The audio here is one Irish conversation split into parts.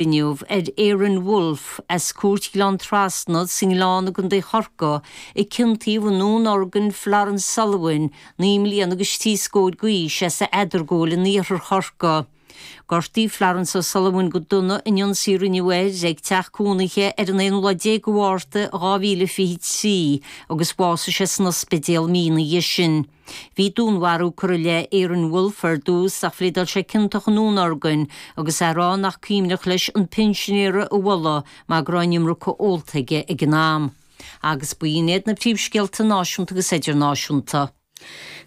Inniu ar Aaron Wolfe as Cúirt Ghleann Trasna sa nGleann i gContae Chorcaí a ciontaíodh i ndúnorgain Florence Sullivan, 9 mbliana agus trí scóir d'aois, as Eadargóil in iarthar Chorcaí. Gortaíodh Florence O'Sullivan go dona in ionsaí a rinneadh air ag teach cónaithe ar an aonú lá déag de Mhárta 2023 agus bhásaigh sé san ospidéal mí ina dhiaidh sin. Bhí dúnmharú curtha i leith Aaron Wolfe ar dtús ach phléadáil sé ciontach i ndúnorgain agus é ag rá nach cuimhneach leis an pinsinéara a bhualadh mar go raibh an iomarca ólta aige ag an am. Agus b'in iad na príomhscéalta náisiúnta agus idirnáisiúnta.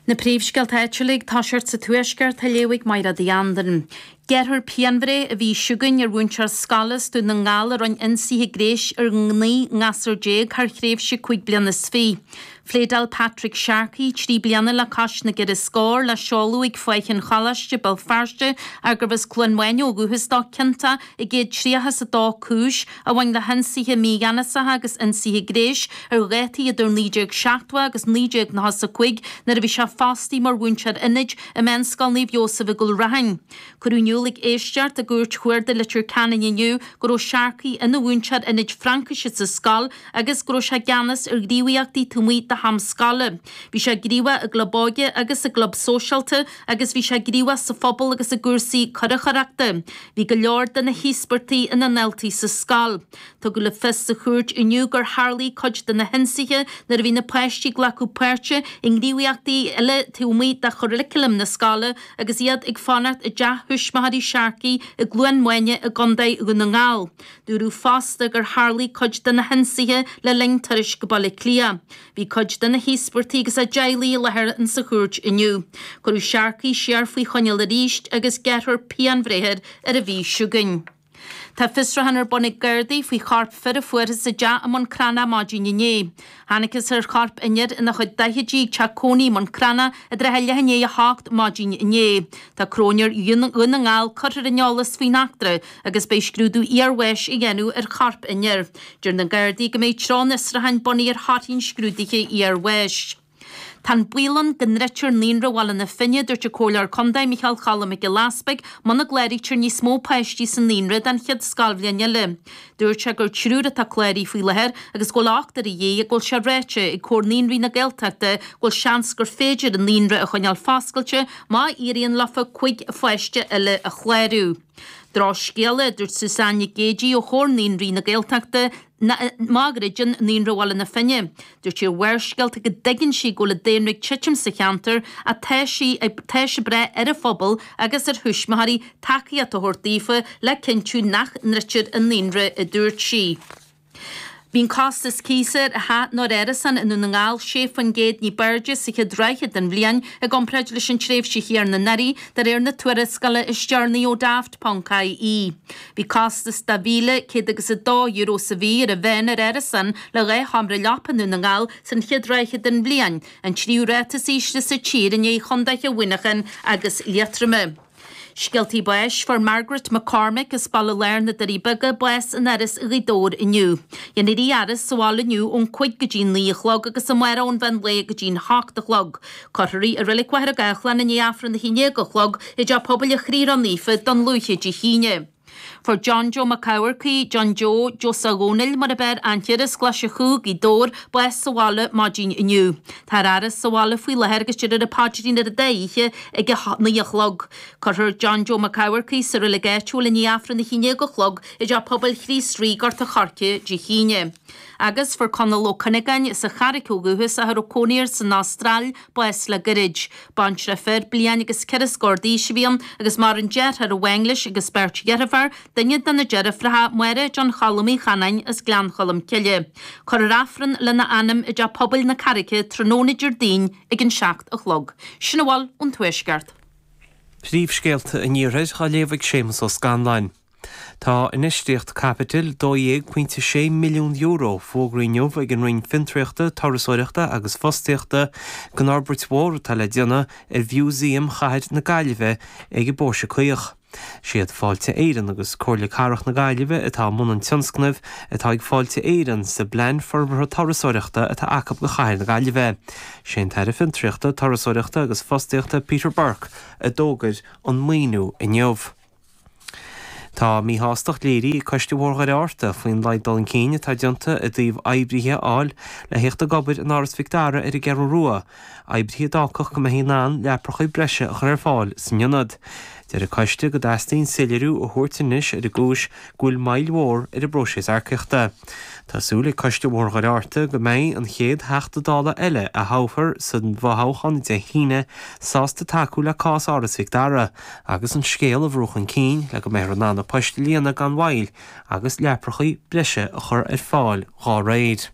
Na príomhscéalta áitiúla ag toiseacht sa Tuaisceart á léamh ag Mairéad Uí Anluain. Gearrfar pianbhreith an mhí seo chugainn ar mhúinteoir scoile as Dún na nGall a rinne ionsaithe gnéis ar 19 ngasúr thar thréimhse 5 bliana is fiche. Phléadáil Patrick Sharkey, 3 bliana le cois na gceithre scór, le seoladh ag Faiche an Choláiste, Béal Feirste, ach gurbh as Cluain Mhaine ó dhúchas dó, ciontach i gcéad 32 cúis a bhain le hionsaithe mígheanasacha agus ionsaithe gnéis ar dhaltaí idir 1970 agus 1995 nuair a bhí sé fostaithe mar mhúinteoir ionaid i Meánscoil Naomh Iósaf i gCúil Raithin. Cuireadh in iúl ag éisteacht i gCúirt Chuarda Leitir Ceanainn inniu go raibh Sharkey ina mhúinteoir ionaid Fraincise sa scoil agus go raibh sé i gceannas ar ghníomhaíochtaí taobh amuigh de ham scoile. Bhí sé gníomhach i gclub óige agus i gclub sóisialta agus bhí sé gníomhach sa phobal agus i gcúrsaí curachaireachta. Bhí go leor de na híospartaigh ina ndaltaí sa scoil. Tugadh le fios sa chúirt inniu gur tharlaigh cuid de na hionsaithe nuair a bhí na páistí ag glacadh páirte i ngníomhaíochtaí eile taobh amuigh de churaclam na scoile agus iad ag fanacht i dteach thuismitheoirí Sharkey i gCluain Maine i gContae Dhún na nGall. Dúradh fosta gur tharlaigh cuid de na hionsaithe le linn turais go Baile Átha Cliath. Bhí cuid de na híospartaigh agus a dteaghlaigh i láthair in sa chúirt inniu. Cuireadh Sharkey siar faoi choinneáil arís agus gearrfar pianbhreith air ar an mhí seo chugainn. Tá fiosrúchán ar bun ag Gardaí faoi chorp fir a fuarthas i dteach i mBun Cranncha maidin inné. Thángthas ar chorp an fhir ina chuid daichidí ag teach cónaí i mBun Cranncha i dtrátha leath i ndiaidh a hocht maidin inné. Tá Cróinéir Dhún na nGall curtha ar an eolas faoin eachtra agus beidh scrúdú iarbháis á dhéanamh ar chorp an fhir. Deir na Gardaí go mbeidh treo an fhiosrúcháin bunaithe ar thorthaí an scrúdaithe iarbháis. Tá an baol ann go ndruidtear Naíonra Bhaile na Finne, a dúirt an Comhairleoir Contae Micheál Cholm Mac Giolla Easpaig, muna gcláraítear níos mó páistí sa naíonra don chéad scoilbhliain eile. Dúirt sé gur triúr atá cláraithe faoi láthair agus go bhfuil ochtar a dhíth ach go bhfuil sé ráite ag Comhar Naíonraí na Gaeltachta go bhfuil seans gur féidir an naíonra a choinneáil foscailte má éiríonn leofa 5 pháiste eile a chlárú. Drochscéala, a dúirt Suzanne Nic Géidigh ó Chomhar Naíonraí na Gaeltachta, má dhruideann Naíonra Bhaile na Finne. Dúirt sí ar Bharrscéalta go dtuigeann sí go bhfuil an daonra ag titim sa cheantar ach tá sí ag tá sí ag brath ar an phobal agus ar thuismitheoirí tacaíocht a thabhairt daofa le cinntiú nach ndruidtear an naíonra, a dúirt sí. Bhí an costas cíosa ar theach nó ar árasán i nDún na nGall 6% ní b'airde sa chéad ráithe den bhliain i gcomparáid leis an tréimhse chéanna anuraidh, de réir na tuarascála is deireanaí ó Daft ponc ie. Bhí costas de €1,100 agus €2 sa mhí ar an mheán ar árasán le dhá sheomra leapa i nDún na nGall san chéad ráithe den bhliain, an tríú ráta is ísle sa tír i ndiaidh chontaetha Mhuineacháin agus Liatroma. Scéaltaí báis, Fuair Margaret McCormick as Baile Láir na Doirí Beaga bás in Áras Ghaoth Dobhair inniu. Dhéanfar í a fhaire sa bhaile inniu ón 5 go dtí 9 a chlog agus amárach ón mheán lae go dtí'n 8 a chlog. Cuirfear í i Reilig Mhachaire Gathlán i ndiaidh Aifreann a 11 a chlog i dTeach Pobail an Chriathraigh Naofa, Dún Lúiche Dé hAoine. Fuair John Joe Mac Eamharcaigh, John Joe, Joe Dhónaill mar ab fhearr aithne air as Glaise Chú, Gaoth Dobhair, bás sa bhaile maidin inniu. Tá ar fhaire sa bhaile faoi láthair agus déarfar an paidrín ar an dá oíche ag a 9 a chlog. Cuirfear John Joe Mac Eamharcaigh sa reilig áitiúil i ndiaidh Aifreann a 11 a chlog i dTeach Pobail Chríost Rí, Gort a' Choirce, Dé hAoine. Agus fuair Conall Ó Cuinneagáin, as an Charraic ó dhúchas ach a raibh cónaí air san Astráil, bás le gairid. Baintreach fir, bliain agus ceithre scór d'aois a bhí ann agus maireann deartháir amháin leis agus beirt dheirfiúr, duine de na deirfiúracha, Máire John Choilm Uí Chanáin as Gleann Cholm Cille. Cuirfear Aifreann lena anam i dTeach Pobail na Carraice tráthnóna Déardaoin ag an 7 a chlog. Sin a bhfuil ón Tuaisceart. Príomhscéalta an Iarthair á léamh ag Séamus Ó Scanláin. Tá infheistíocht caipitil €12.6 milliún fógraithe inniu ag an Roinn Fiontraíochta, Turasóireachta agus Fostaíochta don fhorbairt mhór atá le déanamh ar Mhúsaem Chathair na Gaillimhe ag an bPóirse Caoch. Siad Fáilte Éireann agus Comhairle Cathrach na Gaillimhe atá i mbun an tionscnaimh atá ag Fáilte Éireann sa bPlean Forbartha Turasóireachta atá acu do Chathair na Gaillimhe. Sé an tAire Fiontraíochta, Turasóireachta agus Fostaíochta Peter Burke a d'fhógair an maoiniú inniu. Tá míshástacht léirithe ag Coiste Bhóthar Dhoire Fhearta faoin laghad dul chun cinn atá déanta i dtaobh oibrithe a fháil le theacht ag obair in Áras Mhic Dara ar an gCeathrú Rua, oibrithe a d'fhágfadh go mbeifí in ann leapracha breise a chur ar fáil san ionad. Deir an coiste go dteastaíonn soiléiriú a thabhairt anois ar an gcúis go bhfuil moill mhór ar an bpróiseas earcaíochta. Tá súil ag Coiste Bhóthar Dhoire Fhearta go mbeidh an chéad Theachta Dála eile a thoghfar sa bhfothoghchán Dé hAoine sásta tacú le cás Áras Mhic Dara agus an scéal a bhrú chun cinn le go mbeifear in ann na poist a líonadh gan mhoill agus leapracha breise a chur ar fáil dhá réir.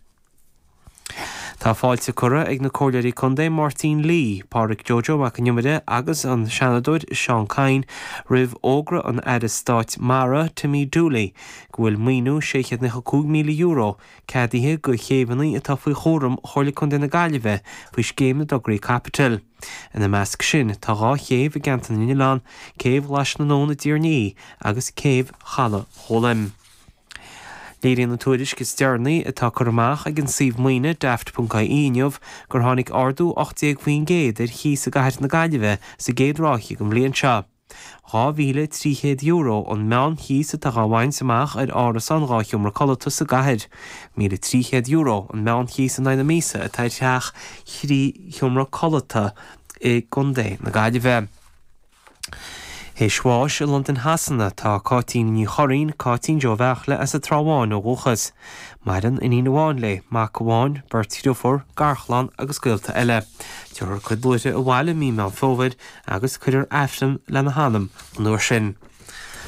Tá fáilte curtha ag na Comhairleoirí Contae Máirtín Lee, Pádraic Joe Joe Mac an Iomaire agus an Seanadóir Seán Kyne roimh fhógra an Aire Stáit Mara, Timmy Dooley, go bhfuil maoiniú €695,000 ceadaithe do chéibheanna atá faoi chúram Chomhairle Contae na Gaillimhe faoi Scéim na dTograí Caipitil. Ina measc sin tá 2 chéibh i gCeantar na nOileán, Céibh Ghlais na nAbhann i dTír an Fhia agus Céibh Chaladh Ghólaim. Léiríonn an tuairisc is deireanaí atá curtha amach ag an suíomh maoine Daft.ie inniu gur tháinig ardú 18% ar chíos i gcathair na Gaillimhe sa gcéad ráithe den bhliain seo. €2,300 an meánchíos atá á bhaint amach ar árasán 2 sheomra codlata sa gcathair. €1,300 an meánchíos in aghaidh na míosa atá ar theach thrí sheomra codlata i gContae na Gaillimhe. Théis bháis i Londain Shasana tá Cáitín Ní Churraoin, Cáitín Joe Bheartla as an Trá Bháin ó dhúchas. Maireann iníon amháin léi, mac amháin, beirt dhriofúr, garchlann agus gaolta eile. Tabharfar a cuid luaithre abhaile mí Meán Fómhair agus cuirfear Aifreann lena hanam an uair sin.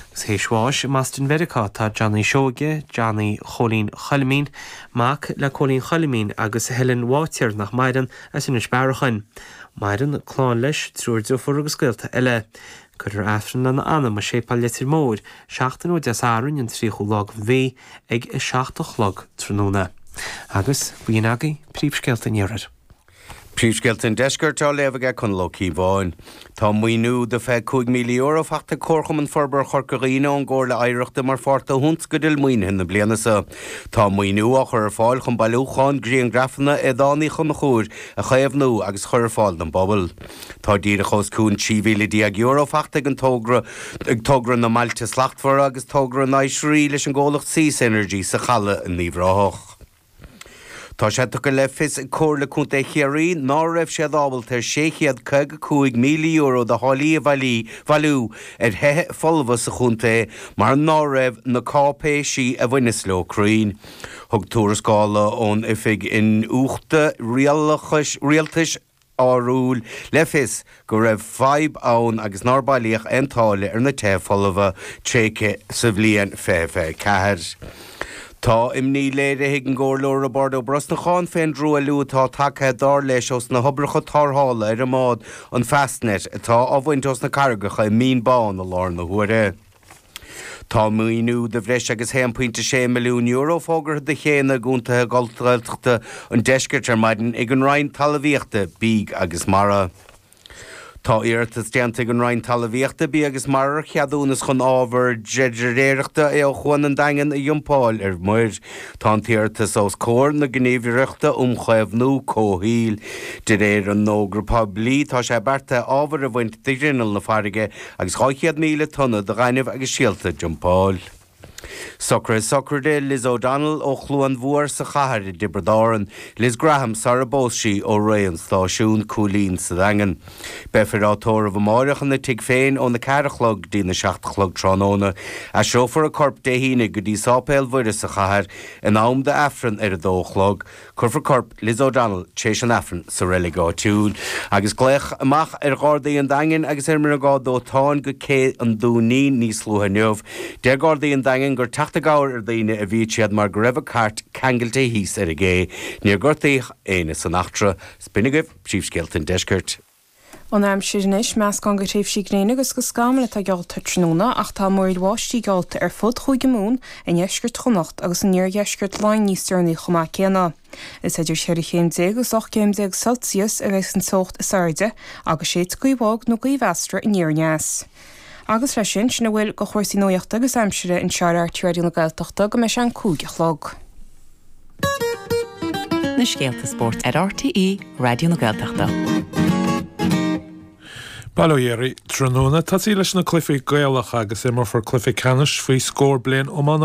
Agus théis bháis i mBoston Mheiriceá tá Johnny Seoige, Johnny Chóilín Choilmín, mac le Cóilín Choilmín agus Helen Bháitéar nach maireann, as Inis Bearachain. Maireann clann leis, triúr driofúr agus gaolta eile. Cuirfear Aifreann lena anam i Séipéal Leitir Móir, seachtain ó Dé Sathairn an 30ú lá den mhí ag 7 a chlog tráthnóna. Agus b'in agaibh príomhscéalta an Iarthair. Príomhscéalta an Deiscirt á léamh aige Conall Ó Cíobháin. Tá maoiniú de €25,000 faighte ag Comharchumann Forbartha Chorca Dhuibhne ón gComhairle Oidhreachta mar pháirt de thionscadal maoinithe na bliana seo. Tá an maoiniú á chur ar fáil chun bailiúchán grianghrafanna Aodáin Uí Chonchúir a chaomhnú agus a chur ar fáil don bpobal. Tá díreach os cionn €13,000 faighte ag an togra ag togra na mBailte Slachtmhara agus togra an oisrí leis an gcomhlacht Seas Energy sa Chaladh in Uíbh Ráthach. Tá sé tugtha le fios ag Comhairle Contae Chiarraí ná raibh siad ábalta ar €655,000 de tháillí a bhailiú ar thithe folmha sa chontae mar ná raibh na cáipéisí a bhaineas leo cruinn. Thug tuarascáil ón Oifig Iniúchta Rialtais Áitiúil le fios go raibh fadhb ann agus nár bailíodh aon táille ar na tithe folmha tréigthe sa bhliain 2024. Tá imní léirithe ag an gComhairleoir Roibeárd Ó Brosnacháin fén dtruailliú atá tagtha dar leis ós na hoibreacha tarrthála ar an mbád an Fastnet atá á bhaint ós na carraigeacha i Mín Bán i láthair na huaire. Tá maoiniú de bhreis agus €1.6 milliún fógartha do chéanna i gcontaetha Gaeltachta an deiscirt ar maidin ag an Roinn Talmhaíochta, Bídh agus Mara. Tá iarratas déanta ag an Roinn Talmhaíochta, Bídh agus Mara ar cheadúnas chun ábhar dreidireachta ó Chuan an Daingin a dhumpáil ar muir. Tá an t-iarratas os comhair na Gníomhaireachta um Chaomhnú Comhshaoil. De réir an fhógra poiblí, tá sé beartaithe ábhar a bhaint de ghrinneall na farraige agus 200,000 tonna de ghaineamh agus silt a dhumpáil. Socruithe sochraide Liz O'Donnell ó Chluain Mhór sa chathair i dTiobraid Árann, Liz Graham sara bpós sí ó Rae an Stáisiún, Cúilín sa Daingean. Beifear á tórramh amáireach ina tigh féin óna ceathair a chlog go dtí na seacht a chlog tráthnóna. Aistreofar a corp Dé hAoine go dtí Sáipéal Mhuire sa chathair in am d'Aifreann ar a dó a chlog. Cuirfear corp Liz O'Donnell tar éis an Aifrinn sa reilig áitiúil. Agus glaodh amach ar Ghardaí an Daingin agus ar an mBriogáid Dóiteáin go Cé an Dúinín níos luaithe inniu. Deir Gardaí an Daingin gur teacht i gcabhair ar daoine a bhí siad mar go raibh an cairt ceangailte thíos ar an gcé. Níor gortaíodh éinne san eachtra. B'in agaibh príomhscéalta an deiscirt. An aimsir anois, meascán de thréimhsí gréine agus de scamaill atá geallta tráthnóna ach tá múraíl bháistí geallta ar fud Chúige Mumhan, i ndeisceart Chonnacht agus in iardheisceart Laighean níos deireanaí chomh maith céanna. Is idir 14 chéim agus 18 céim Celsius a bheidh an teocht is airde agus séidfidh gaoth bhog nó gaoth mheasartha aniar aneas. Agus leis sin, sin a bhfuil de chúrsaí nuachta agus aimsire anseo ar RTÉ Raidió na Gaeltachta go mbeidh sé an 5 a chlog. Na scéalta spóirt ar RTÉ Raidió na Gaeltachta. Bail ó Dhia oraibh tráthnóna. Tosaí leis na cluichí Gaelacha agus imreofar cluiche ceannais faoi scór bliain iomána.